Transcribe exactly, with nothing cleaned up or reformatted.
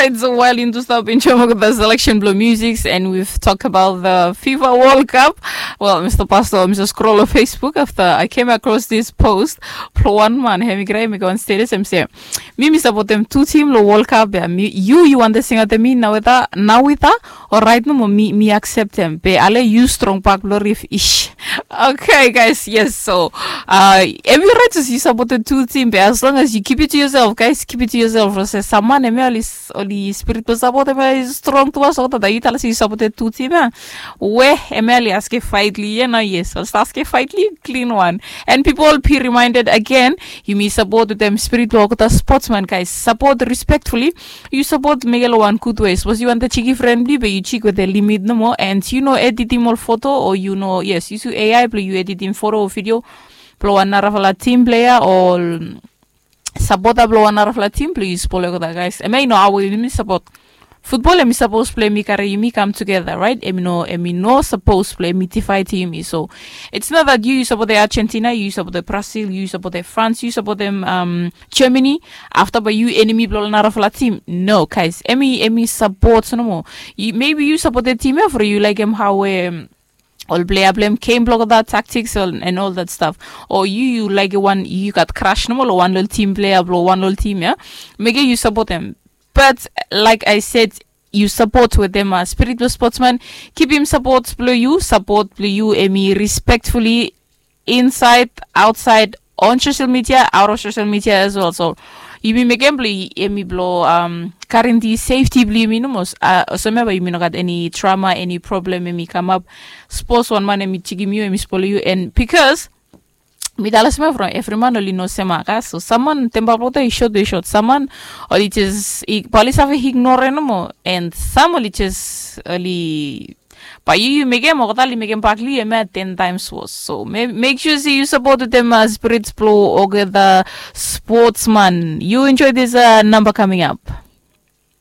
It's a while into stop enjoy the selection blue musics, and we've talked about the FIFA World Cup. Well, Mr. Pastor, Mr. Scroll of Facebook, after I came across this post, Plowan man, hemi grai mi go on status, hemi say, mi mi support them two team lo World Cup, yeah, mi, you, you want the singer to me now with that, now with that, all right, no more, mi, mi accept them. Be ale you strong back, lo rif ish. Okay, guys, yes, so uh, every right is you support the two team, but as long as you keep it to yourself, guys, keep it to yourself. Ro se saman emi oli s- oli spirit pe support emi oli strong to us, so that you tell us you support the two team, eh? We emi oli aske fight li, you know, yes, oli aske fight li, clean one. And people be reminded again, you may support with them spirit lo the sportsman, guys. Support respectfully, you support mege lo one good way. Suppose you want the cheeky friendly, but you cheek with the limit no more. And you know, editing all photo, or you know, yes, you see A I play, you editing photo or video, play one narafala team player or supporter blong wan narafala tim blong yu spol olgeta guys. Em ya i no awe yumi sapot futbol. Em i sapos blong em i karim yumi kam tugeta, raet? Em i no, em i no sapos blong em i divaed yumi. So it's not that yu yu sapotem Argentina, yu yu sapotem Brazil, yu yu sapotem France, yu yu sapotem um, Germany. Afta bae yu enemi blong ol narafala tim. No, guys, em i, em i sapot nomo. Maybe yu sapotem tim ya from yu laekem hao em, ol plea blong em, game blong olgeta, tactics and all that stuff. O yu yu laekem wan, yu gat crush nomo long wan long tim, plea blong wan long tim ya, mekem yu sapotem. But like I said, yu sapot wetem spirit blong sportsman. Kipim sapot blong yu. Sapot blong yu em i respectfully, inside, outside, on social media, out of social media as well. So yumi mekem blong em i blong um, karim the safety blong yumi nomo. Olsem ya bae yumi no gat eni drama, eni problem em i kamap. Sapos wan man em i jikim yu, em i spolem yu, and because mi talem olsem ya from evri man oli no sem ya ka. So sam man tempa blong olgeta i sot, i sot. Sam man oli jes, bae oli save ignore nomo. And sam oli jes, oli, bae yu yu mekem, olgeta oli mekem bak long yu em ya ten times worse. So mek sua se yu sapot wetem spirits blong olgeta sportsman. Yu enjoy this uh, number coming up.